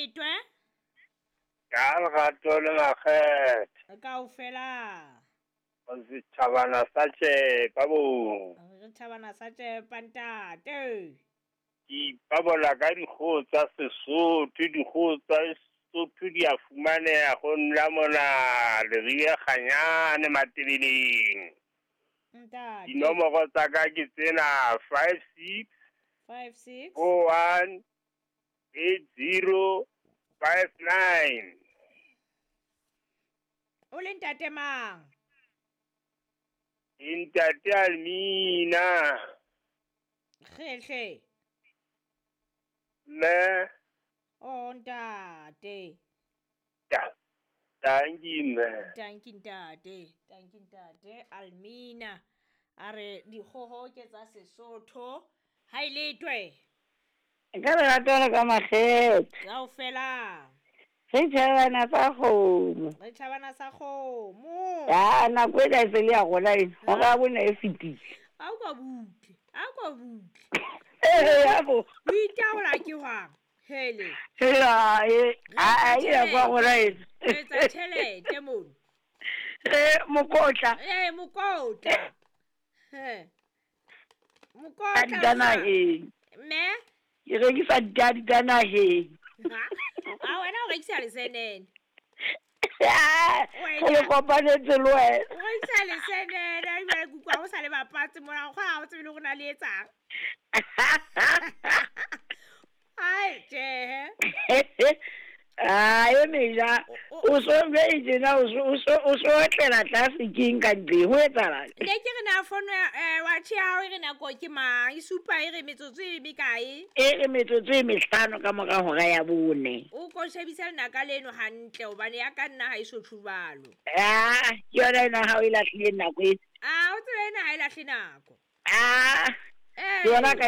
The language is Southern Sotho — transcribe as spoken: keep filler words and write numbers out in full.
letwe. Ka lerato le makgethe. Kaofela. Setjhabana sa tšepa bo. Re tjhabana sa tšepa ntate. Ke ipabola ka dikgoho tsa Sesotho, dikgoho tsa Sesotho di a fumaneha ho nna mona Leribe Kganyane Matebeleng. Ntate. Dinomoro tsa ka ke tsena five six five six four one eight zero five nine. O le ntate mang? Ntate Almina. Kgehle. Me. Oh ntate. Ta. Thank you mme. Thank you ntate. Thank you ntate Almina. A re dikgoho ke tsa Sesotho. Ha e letwe. Ka lerato le ka makgethe. Kaofela. Re tjhabana sa kgomo. Re tjhabana sa kgomo. Ya nako e e se le ya rona ena. Hora ya bone e fetile. A o ka butle. A o ka butle. Eh ya bo. O itaola ke hwang? Hele. Hela e a e ya kwa rona ena. Re etsa tjhelete mono. Eh mokotla. Eh mokotla. He. Mokotla. Di naheng. Mme? Ke rekisa ditadi tsa naheng. A wena o rekisa lesenene. O le kopanetse le wena. O rekisa lesenene, ebile ke utlwa o sa le bapatse mona, o kgona ha o tsebe le hore na le etsang. Ai, tjhe. Ah, e meja. O so be tjena o so o so o so otlela tlase keng ka ntle ho etsahala. Ne ke re na fono ya watch ya hao e re nako ke mang? E supa e re metsotso e mekae? E re metsotso e mehlano ka mora hora ya bone. O ko shebisa lenaka leno hantle hobane ya ka nna ha e so tjhubalo. Ah, ke yona ena ha o e lahlile nako e. Ah, o tsebe ena ha e lahle nako. Ah. Eh. Ke yona ka